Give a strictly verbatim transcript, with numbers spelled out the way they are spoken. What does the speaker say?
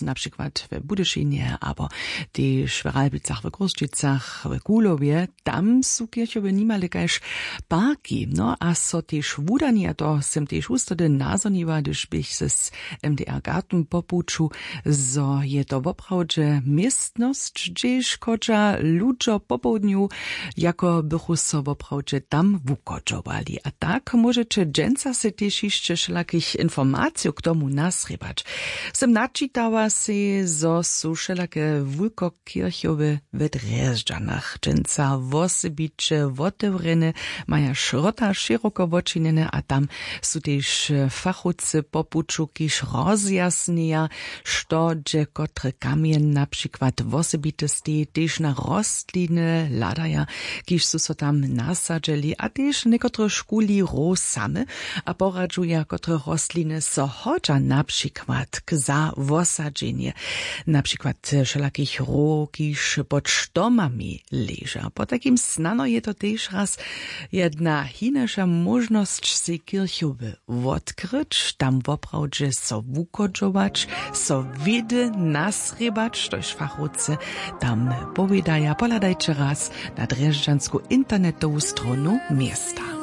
Na přikład w budyšinje abo tež w ralbicach w chrósćicach w kuhlowje, tam su kirchowy nimale kaž parki. No a so tež wudani a to sym tež wustody nazhoniła hdyž běch z mdr garten po puću, zo je to woprawdźe městnosć hdźež chodźa ludźo popołdnju jako bychu so woprawdźe tam wuchodźowali a tak móžeće dźensa sej tež hišće wšelakich informacijow k tomu nasrěbać. Sym načitała sej zo su wšelake wulkokirchowe w drježdźanach dźensa wosebiće wotewrjene, maja šrota šěroko wočinjene a tam su tež fachowcy po puću kiž rozjasnjeja što dźe kotry kamjeń na přikład wosebite steji tež na rostliny hladaja, kiž su so tam nasadźeli a tež někotre škuli roh same a poradźuja kotre rostliny so hodźa na přikład k za wosadźenje, na přikład wšelakich roh kiž pod štomami leža potajkim snano je to tež raz jedna hinaša móžnosć sej kirchowy wotkryć tam woprawdźe so wuchodźować, so wědy nasrěbać štož fachowcy tam powědaja pohladajće raz na drježdźansku internetowu stronu města.